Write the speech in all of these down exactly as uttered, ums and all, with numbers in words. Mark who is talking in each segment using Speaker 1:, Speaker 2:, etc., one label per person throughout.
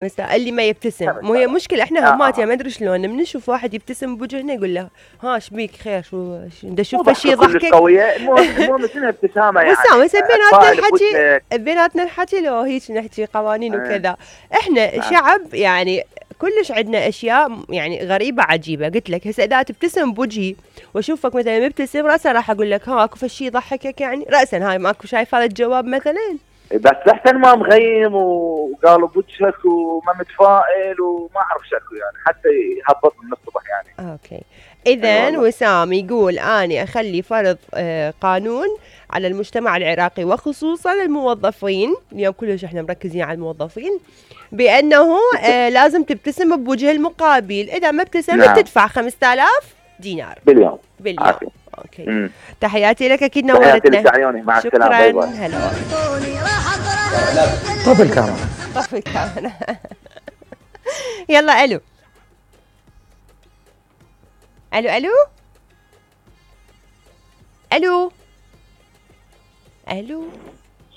Speaker 1: بس اللي ما يبتسم، مو هي مشكلة احنا همات يعني ما ادري شلون من نشوف واحد يبتسم بوجهنا يقول له ها ايش بيك خير شو دا اشوف شيء يضحكك.
Speaker 2: قوية المهم المهم شنو ابتسامة يعني.
Speaker 1: وسام هسه بيناتنا الحكي بيناتنا الحكي لو هيك نحكي قوانين وكذا، احنا شعب يعني كلش عندنا اشياء يعني غريبة عجيبة، قلت لك هسه اذا تبتسم بوجهي واشوفك مثلا مبتسم راسا راح اقول لك ها اكو شيء يضحكك يعني راسا هاي ماكو شايف هذا الجواب مثلا.
Speaker 2: بس لحسن ما مغيم وقالوا بوجهك وما متفائل وما اعرف شكو يعني حتى يهبط من الصبح يعني.
Speaker 1: اوكي اذا وسام يقول اني اخلي فرض آه قانون على المجتمع العراقي وخصوصا الموظفين، اليوم كلش احنا مركزين على الموظفين، بانه آه لازم تبتسم بوجه المقابل، اذا ما ابتسمت نعم. تدفع خمسة آلاف دينار
Speaker 2: باليوم
Speaker 1: باليوم عافي. اوكي مم. تحياتي لك اكيد نورتنا.
Speaker 2: تحياتي مع السلامه.
Speaker 1: شكرا هلا.
Speaker 3: طفي الكاميرا
Speaker 1: طفي الكاميرا. يلا الو الو الو الو الو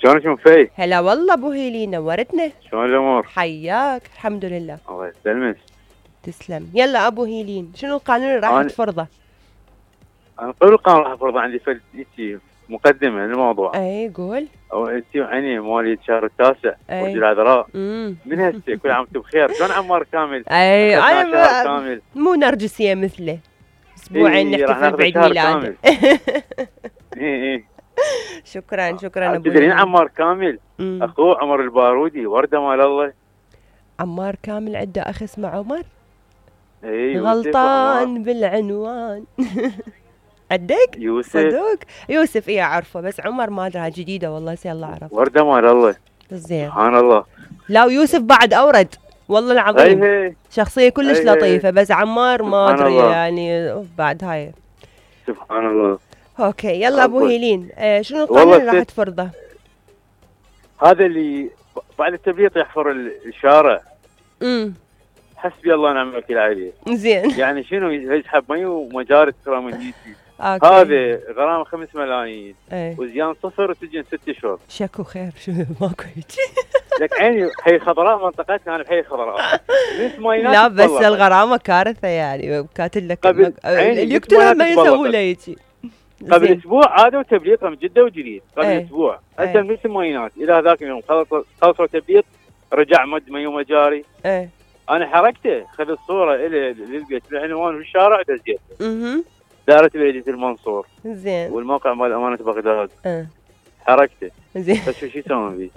Speaker 4: شلونك ام في؟
Speaker 1: هلا والله ابو هيلي نورتنا.
Speaker 4: شلون الامور؟
Speaker 1: حياك الحمد لله.
Speaker 4: الله يسلمك.
Speaker 1: تسلم. يلا ابو هيلين شنو القانون اللي راح تفرضه؟
Speaker 4: انا قبل القانون راح افرضه عندي فد مقدمه للموضوع.
Speaker 1: اي قول.
Speaker 4: او انت يعني مواليد الشهر التاسع ورجل العذراء من هسه كل عام وانتم بخير. شلون عمار كامل؟
Speaker 1: اي انا كامل. مو نرجسيه مثله اسبوعين إيه نحتفل بعيد ميلاده.
Speaker 4: اي اي
Speaker 1: شكرا شكرا ابو.
Speaker 4: تدرين عمار كامل مم. اخوه عمر البارودي ورده مال الله.
Speaker 1: عمار كامل عنده اخ اسمه عمر؟
Speaker 4: اي
Speaker 1: غلطان بالعنوان. عندك؟
Speaker 4: يوسف
Speaker 1: صدق؟ يوسف ايه اعرفه بس عمر ما ادري جديده والله سي الله اعرف.
Speaker 4: ورده مال الله.
Speaker 1: زين
Speaker 4: سبحان الله.
Speaker 1: لا ويوسف بعد اورد والله العظيم.
Speaker 4: هي هي.
Speaker 1: شخصيه كلش هي لطيفه هي. بس عمار ما ادري يعني بعد هاي.
Speaker 4: سبحان الله.
Speaker 1: اوكي يلا ابو هيلين آه شنو القانون اللي راح تفرضه؟
Speaker 4: هذا اللي بعد التبليط يحفر الشارع.
Speaker 1: امم
Speaker 4: حسبي الله ونعم الوكيل عليه.
Speaker 1: زين
Speaker 4: يعني شنو يسحب مي ومجاري تكرم النيتي. هذا غرامه خمس ملايين
Speaker 1: ايه.
Speaker 4: وزيان صفر وسجن ست اشهر.
Speaker 1: شكو خير شو ماكو هيك.
Speaker 4: لك عيني حي خضراء منطقتنا انا بحي خضراء.
Speaker 1: لا بس الغرامه كارثه يعني كاتب لك قبل اللي يقتلها ما يسوي له هيك.
Speaker 4: قبل اسبوع عادوا تبليط من جده وجديد قبل ايه. اسبوع هسه ايه. مثل ماينات الى هذاك اليوم خلصوا تبليط رجع مد مي ومجاري.
Speaker 1: ايه
Speaker 4: انا حركته خذ الصوره الي للبيت العنوان في الشارع دزيته.
Speaker 1: اها
Speaker 4: دارة بلدية المنصور.
Speaker 1: زين
Speaker 4: والموقع مال امانه بغداد.
Speaker 1: اه
Speaker 4: حركته.
Speaker 1: زين
Speaker 4: بس شو يسوون فيه؟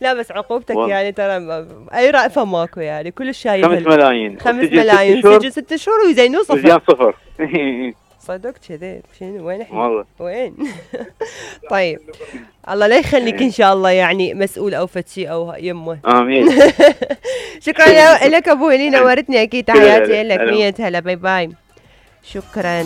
Speaker 1: لا بس عقوبتك و... يعني ترى اي رأفة ماكو يعني كل شايف.
Speaker 4: خمس ملايين
Speaker 1: خمس ملايين سجن ست شهور ويزينوه صفر.
Speaker 4: وزيان صفر.
Speaker 1: صدق كذي شنو وين احنا؟
Speaker 4: والله
Speaker 1: وين؟ طيب الله لا يخليك ان شاء الله يعني مسؤول او فتشي او يمه.
Speaker 4: امين.
Speaker 1: شكرا لك ابو هيلين نورتني اكيد تحياتي لك مية هلا باي باي. شكرا.